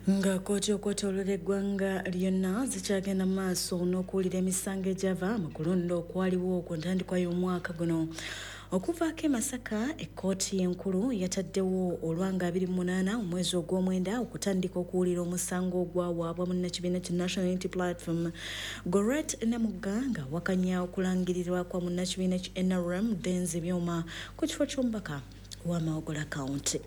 Nga kkooti okwetooloola eggwanga lyonna zikyagenda mu maaso n'okuwulira emisango egyava mu kulonda okwaliwo ku ntandikwa y'omwaka guno. Okuvaako e Masaka, ekkooti enkulu yataddewo olwanga 28 omwezi ogw'omwenda okutandika okuwulira omusango ogwawaabwa munnakibiina ki National Unity Platform Gorret Namugga ng'awakanya okulangirirwa kwa munnakibiina ki NRM Denzi Byoma ku kifo ky'omubaka wa Mawogola County.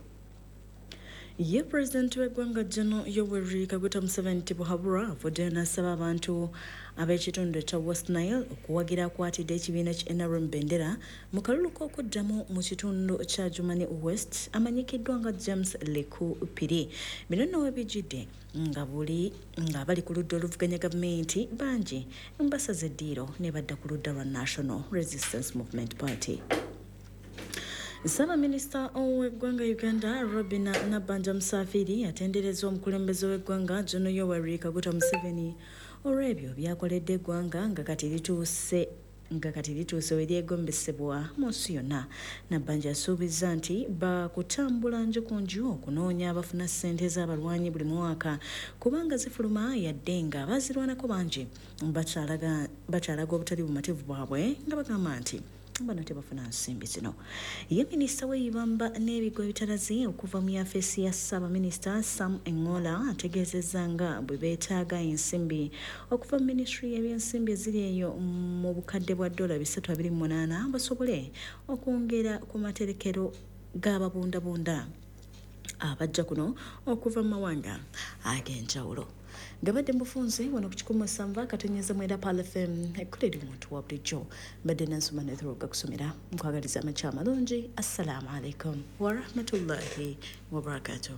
Ye pulezidenti w'eggwanga General Yoweri Kaguta Museveni Tibuhaburwa avuddeyo n'asaba abantu ab'ekitundu ekya West Nile okuwagira akwatidde ekibiina ki NRM bendera mu kalulu k'okuddamu mu kitundu kya Jumani West amanyikiddwa nga James Leku Piri. Bino nno we bijjidde nga buli ng'abali ku ludda oluvuganya gavumenti bangi basaze eddiiro ne badda ku ludda lwa National Resistance Movement Party. Ssaabaminisita w'eggwanga Uganda Robina Nabbanja Musafiri atenderezza omukulembeze w'eggwanga General Yoweri Kaguta Museveni olw'ebyo by'akoledde eggwanga nga kati lituuse nga kati lituuse we lyegombesebwa mu nsi yonna. Nabbanja asuubizza nti baakutambula nju ku nju okunoonya abafuna ssente z'abalwanyi buli mwaka kubanga zifuluma yadde nga abazirwanako bangi bakyalaga obutali bumativu bwabwe nga bagamba nti bano tebafuna nsimbi zino. Ye minisita w'ebibamba n'ebigwa ebitalazi okuva mu yafeesi ya ssaabaminisita Sam Engola ategeezezza nga bwe beetaaga ensimbi okuva mu minisitule y'ebyensimbi eziri eyo mu bukadde bwa dola 328 basobole okwongera ku materekero g'ababundabunda abajja kuno okuva mu mawanga ag'enjawulo. Gabadde mubufunze wano ku 107.9 Pearl FM, ekkula eri omuntu wa bulijjo. Mbadde Nansuma Nethroga kusomera, nkwagaliza amakya amalungi. Assalamu alaikum warahmatullahi wabarakatuh.